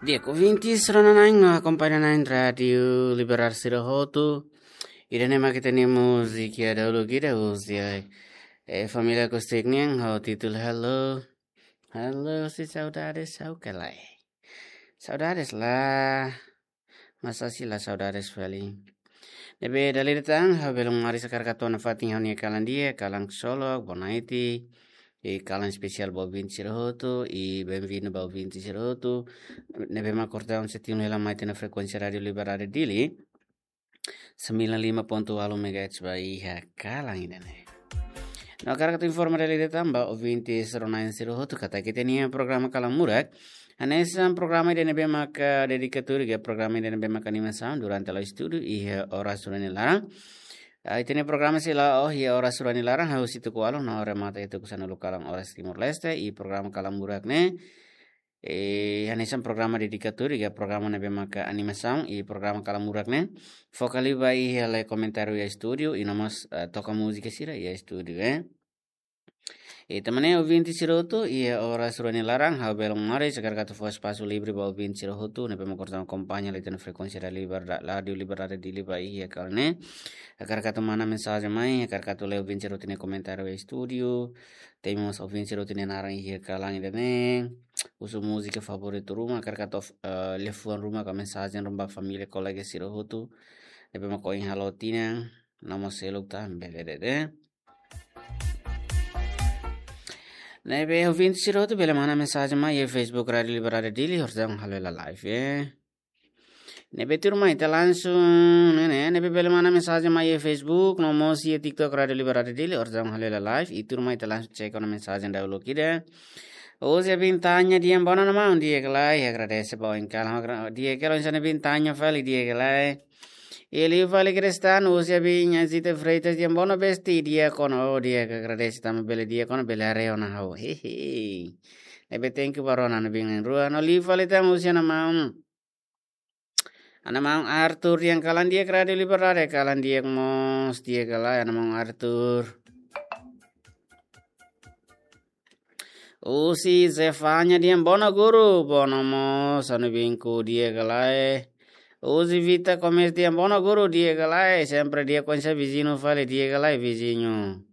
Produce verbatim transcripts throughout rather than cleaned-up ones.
Di'ak, ouvintes rona-na'in no akompaña-na'in Rádiu Liberal sira hotu. Ida-ne'e mak ita-nia múzika iha dauluk ida husi, eh, Família Acústica nian ho títulu Hello. Hello, se saudades ha'u ka lae. Saudades la. Masa sei la saudades fali. Ne'ebé dala ida tan, ha'u bele maris hakarak hato'o nafatin ha'u-nia kalan di'ak, kalan ksolok, bonaiti, i kalan espesiál ba ouvinte sira hotu, i benvindu ba ouvinte sira hotu. Ne'ebé mak kordau setiun hela mai tiha ona frekuénsia Rádiu Liberdade Dili, sembilan lima ponto walu megahertz ba iha kalan ida-ne'e. No hakarak atu informa dala ida tan ba ouvinte rona-na'in sira hotu katak ita-nia programa Kalan Murak hanesan programa ida ne'ebé maka dedikatóriu, ka programa ida ne'ebé maka animasaun durante la'o estúdiu iha oras rua nia laran. Ah, ita-nia programa sei la'o iha oras rua nia laran, hahú husi tuku ualu no remata iha tuku sanulu kalan oras Timor-Leste, i programa Kalan Murak ne'e, eh, hanesan programa dedikatóriu, ka programa ne'ebé maka animasaun, i programa Kalan Murak ne'e foka liu ba iha lee komentáriu iha estúdiu, i no mós, eh, toka múzika sira iha estúdiu, eh. I tanba ne'e ouvinte sira hotu, iha oras rua nia laran, ha'u bele maris hakarak atu fó espasu livre ba ouvinte sira hotu ne'ebé mak kordau akompaña liu tiha ona frekuénsia Rádiu Liberdade, Rádiu Liberdade Dili ba iha kalan ne'e. Hakarak atu manda mensajen mai, hakarak atu lee ouvinte sira hotu nia komentáriu iha estúdiu. Temi mós ouvinte sira hotu nia naran iha kalan ida-ne'e. Husu múzika favoritu ruma, hakarak atu, eh, liafuan ruma ka mensajen ruma ba família, kolega sira hotu ne'ebé mak ohin halo tinan, no mós seluk tan, bele de'it. Ne'ebé ouvinte sira hotu bele manda mensajen mai iha Facebook Rádiu Liberdade Dili, orsida ha'u halo hela live, eh. Ne'ebé tuirmai ita langsung, ne'e, ne'e, ne'ebé bele manda mensajen mai iha Facebook, no mós iha TikTok Rádiu Liberdade Dili, orsida ha'u halo hela live, i tuirmai ita langsung cek ona mensajen dauluk ida. Husi Abin Tanya Diambono, maun, di'ak ka lae, agradese ba oin kalan, agra-, di'ak ka lae, oinsá Abin Tanya fali, di'ak ka lae. I liu fali Kristan, husi Abin Azita Freitas Diambono, besti, di'ak ona, oh, di'ak, agradese tanba bele di'ak ona, bele haree ona ha'u. Hehe. Ne'ebé thank you ba rona-na'in rua. No liu fali tan husi ana maun, ana maun Arthur, di'ak, kalan di'ak Rádiu Liberdade, kalan di'ak mós, di'ak ka lae, ana maun Arthur. Husi Zefania Diambono, guru, bono mós, ha'u-nia binku, di'ak ka lae. Husi Vita Komes Diambono, guru, di'ak ka lae, sempre di'ak, oinsá viziñu fali, di'ak ka lae viziñu.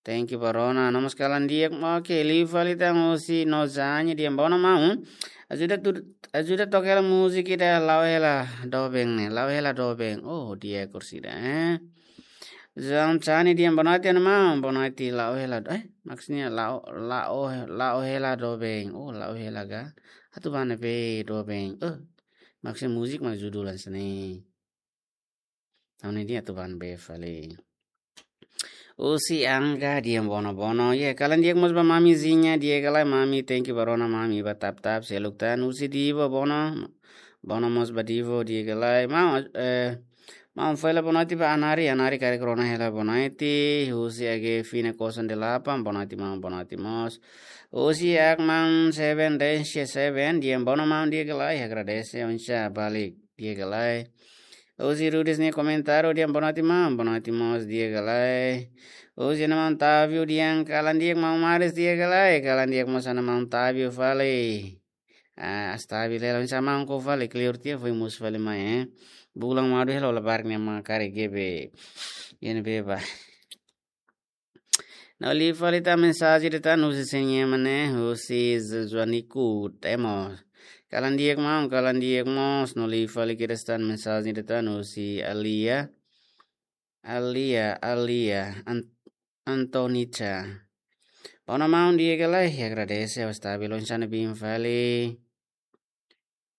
Thank you ba rona, no mós kalan di'ak, oke, liu fali tan husi Nozanya Diambono, maun, ajuda tu, ajuda toka hela múzika ida La'o Hela Doben ne'e, La'o Hela Doben. Oh, di'ak orsida, eh. João Chani Diambono, bonaiti, ana maun, bonaiti, La'o Hela Do-, eh, maksudnya La'o, La'o, La'o Hela Doben. Oh, La'o Hela ka? Atu bá ne'ebé doben. Oh, maksudnya múzika mak judul hanesan ne'e. Tahun ini atu bá ne'ebé fali. Husi Angga Diambono, bono. Ya, kalan di'ak mós ba mamizinha, di'ak ka lae mami, thank you ba rona mami, ba tap-tap, seluk tan, husi Divo, bono. Bono mós ba Divo, di'ak ka lae. Maun, eh, maun fila bonaiti ba Anari, Anari karik rona hela bonaiti, husi Age Fina Kosan Delapan, bonaiti maun, bonaiti mós. Husi Akman Seven Dash Seven, Diambono maun, di'ak ka lae, agradese, oinsá balik, di'ak ka lae. Husi Rudis nia komentáriu, di'ak, bonaiti maun, bonaiti mós, di'ak ka lae. Husi ana maun Tavio, di'ak, kalan di'ak maun maris, di'ak ka lae, kalan di'ak mós ana maun Tavio fali. Ah, stabil hela, oinsá maun, koko fali, clear tiha, foin mosu fali mai, eh. Bulan madu hela, labarik ne'e mak karik GB. Iha ne'ebé bá. No liu fali tan mensajen ida tan husi sé nian mak ne'e, husi Zuaniku Temo. Kalan di'ak maun, kalan di'ak mós, no liu fali kedas tan mensajen ida tan husi Alia. Alia, Alia, An-, Antonica. Bono maun, di'ak ka lae, agradese, ha'u stabil, oinsá ne'ebé fali.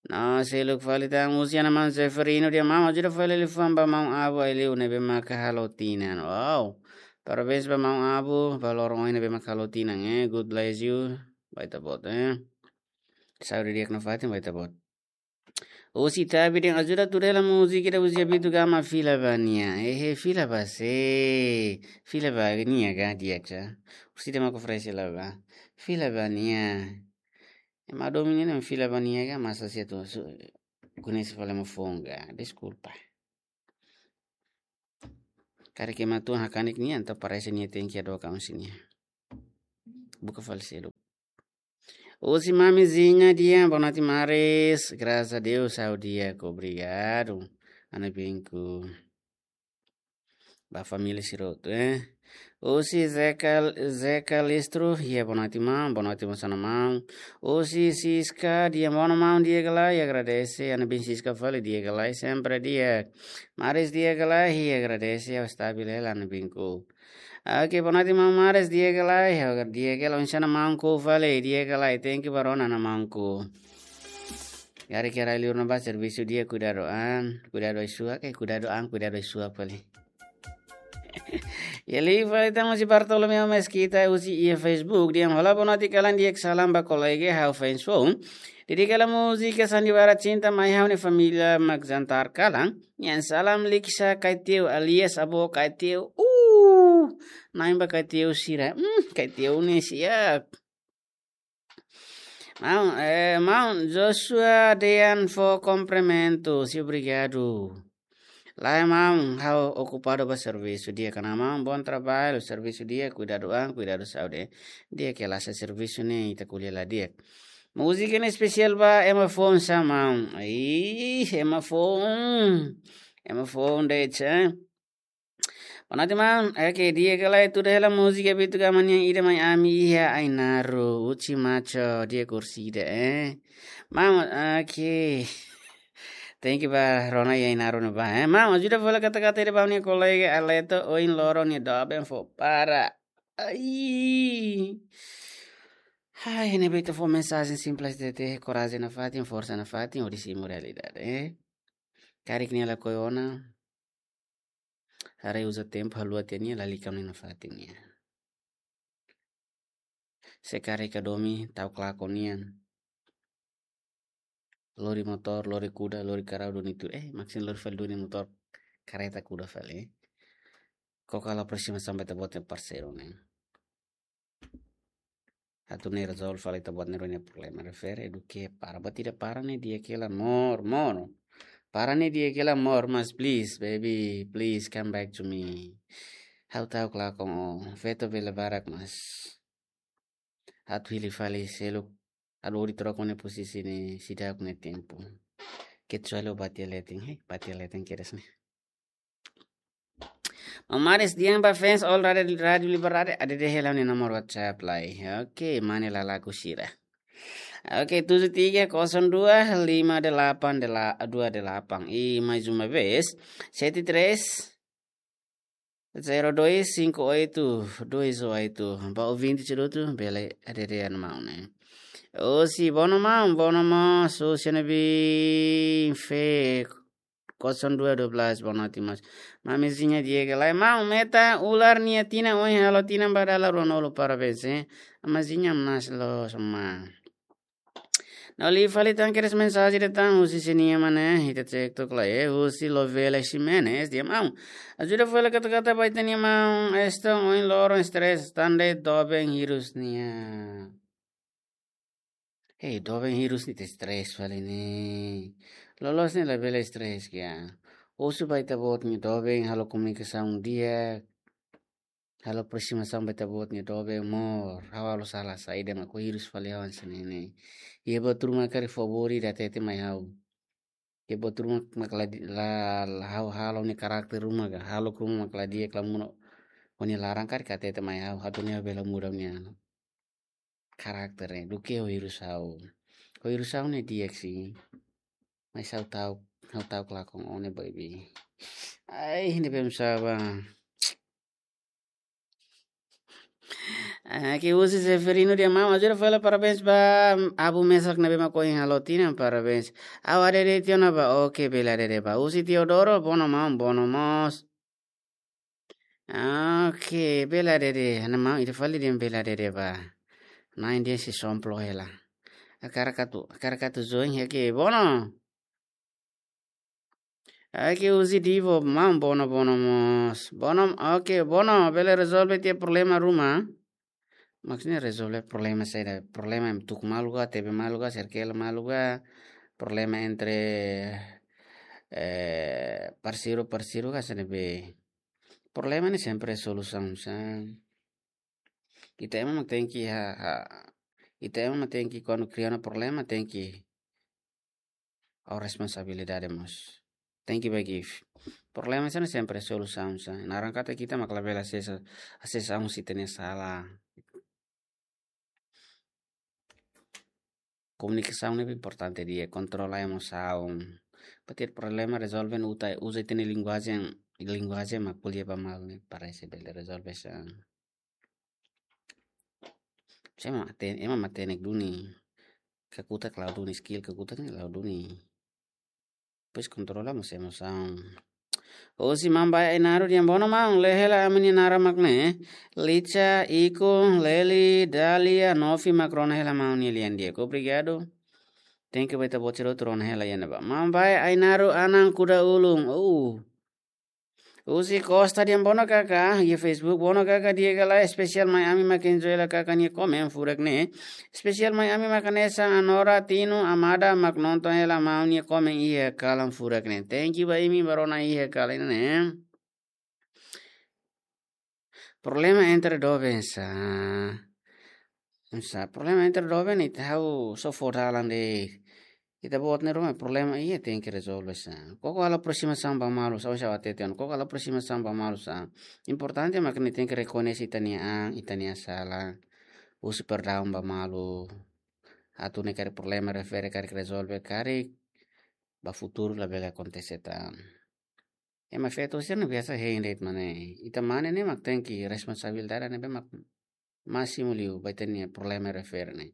No seluk fali tan husi ana maun Seferino, di'ak maun, ajuda fali liafuan ba maun Abu Ailiu ne'ebé maka halo tinan. Wow. Parabéns ba maun Abu, ba loron ohin ne'ebé maka halo tinan, eh. God bless you. Ba Ita-Boot, eh. Saúde di'ak nafatin ba Ita-Boot. Husi Tabi, di'ak, ajuda tuir hela múzika ida husi Abitu Gama, Fila ba Nia. Eh, eh, fila ba sé? Fila ba nia ka, di'ak ka? Husi dema ko frese la ba. Fila ba nia. Ema domin ne'e fila ba nia ka, masa se tu su-, koñese fali ema foun ka. Deskulpa. Karik ema tuan hakanek nia, entaun parese nia tenke hadook husi nia. Buka fali seluk. Husi mamizinha di'ak, boa noite maris. Graças a Deus, ha'u di'ak, obrigadu. Ana binku. Ba família sira hotu, eh. Husi Zeca, Zeca Listro, di'ak, boa noite maun, boa noite maun, sana maun. Husi Siska, di'ak, boa noite maun, di'ak ka lae, agradese, ana bin Siska fali, di'ak ka lae, sempre di'ak. Maris, di'ak ka lae, agradese, ha'u stabil hela, ana binku. Oke, boa noite maun Maris, di'ak ka lae, di'ak ka lae, oinsá ona maun, ko'alia fali, di'ak ka lae, thank you ba rona ona maun ku. Karik iha rai-li'ur ne'ebá servisu di'ak, kuidadu an, kuidadu ai-suak, eh, kuidadu an, kuidadu ai-suak fali. Iha liu fali ita husi Bartolomeu Mesquita, husi iha Facebook, dehan olá, boa noite kalan, di'ak, salam ba kolega, ha'u fans foun. Dedika hela múzika Sandiwara Cinta mai ha'u-nia família mak jantar kalan. Nian salam Liksa Kaiteu alias Avó Kaiteu. Uh, na'in ba Kaiteu sira. Hmm, Kaiteu ne'e siap. Maun, eh, maun Joshua dehan fó kumprimentu, si obrigadu. Lae maun, ha'u okupadu ba servisu di'ak, karik maun, bom trabalho, servisu di'ak, kuidadu an, kuidadu saúde. Di'ak ka lae, servisu ne'e ita ko'alia la di'ak. Múzika ne'e espesiál ba ema foun sá maun? Ih, ema foun. Ema foun de'it, eh. Boa noite maun, oke, di'ak ka lae, tuda hela múzika Bitu Gama nian, ida mai ami iha Ainaro, Uchi Macho, di'ak, kursida, eh. Maun, oke. Thank you ba rona iha Ainaro ne'ebá, eh. Maun, ajuda fali kata-kata ida ba ha'u-nia kolega Aleto, ohin loron nia doben fó para. Ai. Ai, ne'ebé ita fó mensajen simples de'it, korajen nafatin, forsa nafatin, hodi simu realidade, eh. Karik nia lakohi ona, haree uza tempu, haluha tiha nia, lalika nia nafatin nian. Se karik ka domin, ta'uk lakon nian. Lori motór, lori kuda, lori karau duni tuir. Eh, maksin lori fali duni motór, kareta, kuda fali, eh. Koko halo aproximasaun ba ita-boot nia parseiru ne'e. Atu ne'e rezolve fali ita-boot nia rua nia problema. Refere duké para. Buat ida para ne'e di'ak hela, mós, mós. Para ne'e di'ak hela, mós, mas please, baby, please come back to me. Ha'u ta'uk lakon ó, feto bele barak, mas atu hili fali seluk, atu hodi troka ó-nia posisi ne'e seidauk nia tempu. Kecuali ó bá tiha leten, hei, bá tiha leten kedas ne'e. Maun Maris dehan ba fans all Rádio, Rádio Liberdade, adede hela ó-nia nomor WhatsApp lai. Oke, mane lalaku sira. Oke, tujuh tiga kosong dua lima delapan dua delapan. E mais uma vez, sete três zero dois cinco oito dois oito. Ba ouvinte sira hotu, bele adede an maun ne'e. Osi, boa noite maun, boa noite maun, sosiana bin fe kosong dua dua belas, boa noite maun. Mamizinha di'ak ka lae, maun, Meta Ular nia tinan ohin halo tinan ba dala ruanulu, parabéns, eh. Amazinha mas lo sama. Ne'e liu fali tan kedas mensajen de'it tan husi sira-nia mana, ita cek tok lai, eh, husi Lovela Ximenes, dehan maun, ajuda fali kata-kata ba ita-nia maun Eston, ohin loron stress tan de'it doben hirus nia. Hei, doben hirus ne'e ita stress fali ne'e. Loloos ne'e labele stress ka. Husu ba ita-boot nia doben, halo komunikasaun di'ak, halo aproximasaun ba ita-boot nia doben, amor, ha'u halo sala saida mak ó hirus fali ha'u hanesan ne'e. Iha buat ruma karik fó bori ida hatete mai ha'u. Iha buat ruma mak la di-, la, la ha'u halo, ó-nia karakter ruma ka, halo ruma mak la di'ak, la monu ó-nia laran karik hatete mai ha'u, atu nune'e bele muda ó-nia karakter ne'e, duké ó hirus ha'u. Ó hirus ha'u ne'e di'ak sih. Mas ha'u ta'uk, ha'u ta'uk lakon ó ne'e, baby. Ai, ne'ebé maun saba. Ah, oke, husi Severino dehan maun, ajuda fali parabéns ba avó mesak ne'ebé mak ohin halo tinan, parabéns. Ha'u adede tiha ona ba, oke, bele adede ba. Husi Teodoro, boa noite maun, boa noite mós. Oke, bele adede. Ha'u-nia maun ida fali dehan bele adede ba. Na'in dehan sei somplo hela. Hakarak atu, hakarak atu join, oke, boa noite. Oke, husi Divo, maun, boa noite, boa noite mós. Boa noite, oke, boa noite, bele rezolve tiha problema ruma? Maksudnya rezolve problema saida? Problema tuku malu ka, tebe malu ka, serkela malu ka, problema entre, eh, parseiru, parseiru ka, saida be. Problema ne'e sempre solusaun sa. Ita ema mak tenke ha, ha, Ita ema mak tenke, kuandu kria ona problema, tenke halo responsabilidade mós. Tenke bá give. Problema sira-ne'e sempre solusaun sá. Naran katak ita mak labele asesa, asesa husi ita-nia sala. Komunikasaun ne'e importante di'ak, kontrola emosaun. Para iha problema rezolve, uza, uza ita-nia linguajen, linguajen mak ko'alia ba malu ne'e para ita bele rezolve sá. Ema matenek, ema matenek duni. Kakutak la'o duni, skill kakutak ne'e la'o duni. Depois kontrola mós emosaun. Husi maun Bae Ainaro, di'ak, bono maun, lee hela ami-nia naran mak ne'e. Licha, Iko, Leli, Dalia, Novi mak rona hela maun nia lian di'ak. Obrigadu. Thank you ba ita-boot sira hotu rona hela iha ne'ebá. Maun Bae Ainaro, Anan Kuda Ulun. Uh. Husi Costa, di'ak, bono kaka, iha Facebook, bono kaka, di'ak ka lae, espesiál mai ami mak enjoy hela kaka nia komen furak ne'e. Espesiál mai ami mak hanesan Anora, Tino, Amada mak nonton hela maun nia komen iha kalan furak ne'e. Thank you ba imi ba rona iha kalan ne'e. Problema entre doben sá. Sá, problema entre doben ita ha'u só fó dalan de'it. Ita-boot nia ruma problema iha tenke rezolve sá. Koko halo aproximasaun ba malu sá, oinsá ha'u hatete ona. Koko halo aproximasaun ba malu sá. Importante mak ne'e tenke rekoñese ita-nia an, ita-nia sala. Husu perdaun ba malu. Atu ne'e karik problema refere karik rezolve karik ba futuru labele akontese tan. Ema feto sira-ne'e biasa hein de'it, maibé ita mane ne'e mak tenke responsabilidade ne'ebé mak másimu liu ba ita-nia problema refere ne'e.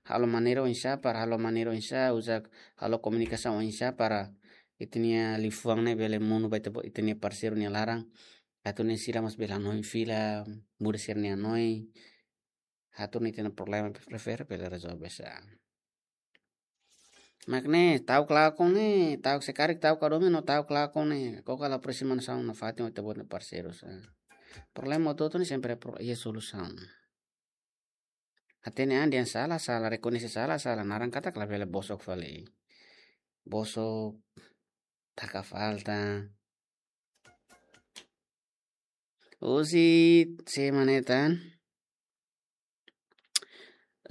Halo maneira oinsá para, halo maneira oinsá, uza, halo komunikasaun oinsá para ita-nia liafuan ne'e bele monu ba ita, ita-nia parseiru nia laran. Atu nune'e sira mós bele hanoin fila, muda sira-nia hanoin. Atu nune'e ita-nia problema refere bele rezolve sá. Mak ne'e, ta'uk lakon ne'e, ta'uk se karik, ta'uk ka domin no ta'uk lakon ne'e. Koko halo aproximasaun nafatin ho ita-boot nia parseiru sá. Problema hotu-hotu ne'e sempre pro-, iha solusaun. Hatene an dehan sala, sala, rekoñese sala, sala. Naran katak labele bosok fali. Bosok, taka falta. Husi, sé mak ne'e tan?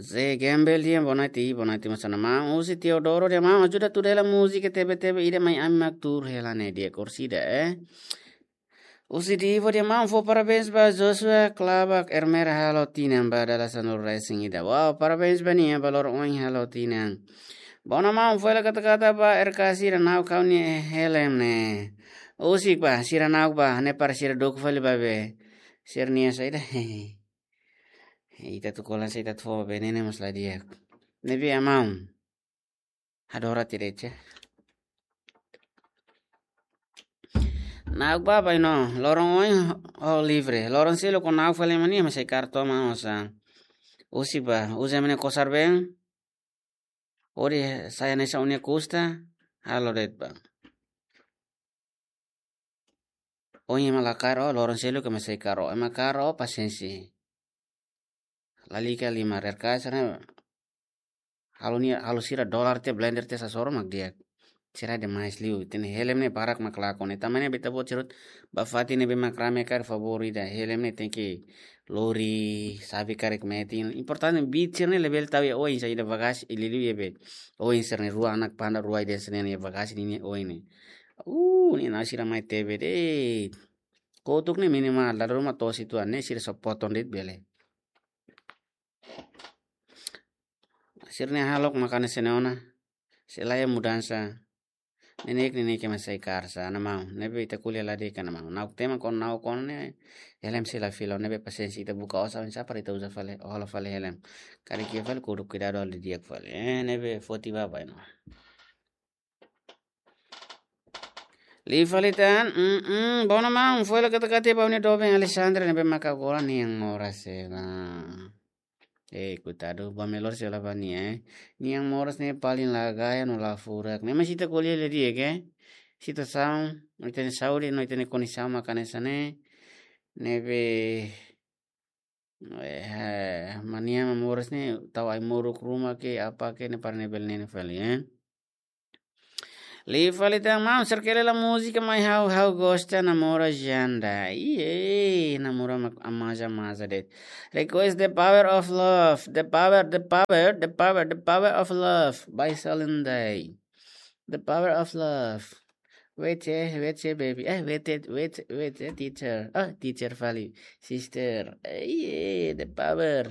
Zé Gembel, di'ak, boa noite, boa noite, mós ona maun. Husi Teodoro, di'ak, maun, ajuda tuur hela múzika Tebe Tebe ida mai ami mak tuur hela ne'e, di'ak, korsida, eh. Husi Divo, di'ak, maun, fó parabéns ba Joshua Klabak Ermer halo tinan ba dala sanulu-resin-ida. Wow, parabéns ba nia, ba loron ohin halo tinan. Bono maun, fó hela kata-kata ba R K sira, na'ok ha'u-nia helm ne'e. Husik ba, sira na'ok ba, ne'e para sira duku fali ba be. Sira-nia saida. Ita atu kolan sa ita atu fó ba be ne'e, ne'e mós la di'ak. Ne'ebé maun. Adora tirecha. Na'ok ba, bainhira loron ohin ho livre. Loron seluk ó na'ok fali mak ne'e, ema sei kaer to'o maun sá. Husik ba, uza ema nia kosar-been. Hodi sai hanesan ó-nia kusta, halo de'it ba. Ohin ema la kaer ó, loron seluk ema sei kaer ó. Ema kaer ó, pasiénsia. Lalika lima R K sira-ne'e. Halo nia, halo sira dolar tiha, blender tiha, sasoro mak di'ak. Sira demais liu. Ita-nia helm ne'e barak mak lakon. Ita mane beta buat sirut ba fatin ne'ebé mak rame karik, favór ida. Helm ne'e tenke lori, xave karik metin. Importante, beat sira-ne'e labele tau iha oin, saida bagasi, liuliu iha be. Oin sira-ne'e, rua anak panda rua ida sira-ne'e iha bagasi ninia oin ne'e. Uh, nia na'ok sira mai Tebe de'it. Kotuk ne'e minimal, dala ruma to'o situan ne'e sira só potong de'it bele. Sira-nia hahalok mak hanesan ne'e ona. Sei la iha mudansa. Neineik, neineik ema sei kaer sá, ne'e maun. Ne'ebé ita ko'alia la di'ak ona maun. Na'ok tama kon, na'ok kon ne'e. Helm sei la fila, ne'ebé pasiénsia, ita buka osan sá para ita uza fali, hola fali helm. Karik iha fali kudu kuidadu halo di'ak fali. Eh, ne'ebé foti ba bainhira. Liu fali tan, mm, mm, bono maun, fó hela kata-kata ba ó-nia doben Alexandre ne'ebé maka agora nia moras hela. Eh, koitadu, ba melhor sei la ba nia, eh. Nia moras ne'e paling la gaya no la furak. Ne'e maibé se ita ko'alia la di'ak, eh. Situasaun, ita-nia saúde, no ita-nia kondisaun mak hanesan ne'e. Ne'ebé, eh, mak nia moras ne'e, tau ai-moruk ruma ke, apa ke, ne'e para ne'e bele nene fali, eh. Liu fali tan maun, serkele la múzika mai ha'u, ha'u gosta namora Janda. Iye, namora mak amaza amaza de'it. Request The Power of Love. The power, the power, the power, the power of love. By Celine Day. The power of love. Wait, eh, wait, eh, baby. Eh, wait, eh, wait, wait, eh, teacher. Ah, teacher fali. Sister. Eh, iye, the power.